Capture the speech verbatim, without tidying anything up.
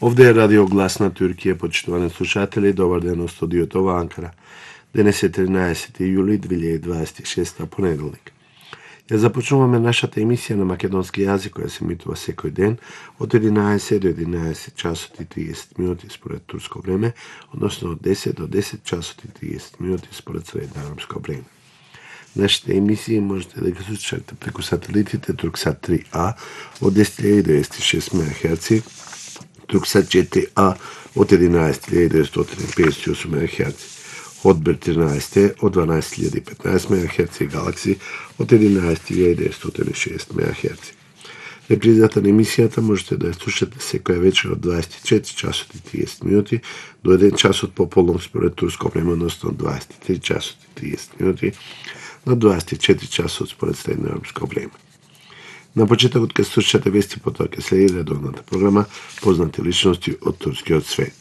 Овде е Радио Глас на Туркија, почитувани слушатели, добар ден од студиото во Анкара. Денес е тринаесети јули две дваесет и шеста, понеделник. Ја започнуваме нашата емисија на македонски јазик, која се емитува секој ден од единаесет до единаесет часот и триесет минути според турско време, односно од десет до десет часот и триесет минути според средноевропско време. Нашите емисии можете да ги слушате преку сателитите Турксат три А од десет илјади деветстотини и шест мегахерци, Турксат четири А од единаесет илјади деветстотини и педесет и осум мегахерци, Хотбир тринаесет од дванаесет илјади и петнаесет мегахерци и Галакси од единаесет илјади деветстотини и шест мегахерци. Репризата на емисијата можете да ја слушате секоја вечер од дваесет и четири часот и триесет минути до еден часот пополнок според турско време, односно дваесет и три часот и триесет минути на дваесет и четири часот според средноевропско време. На почетокот ќе слушате вести, потоа ќе следи редовната програма Познати личности од турскиот свет.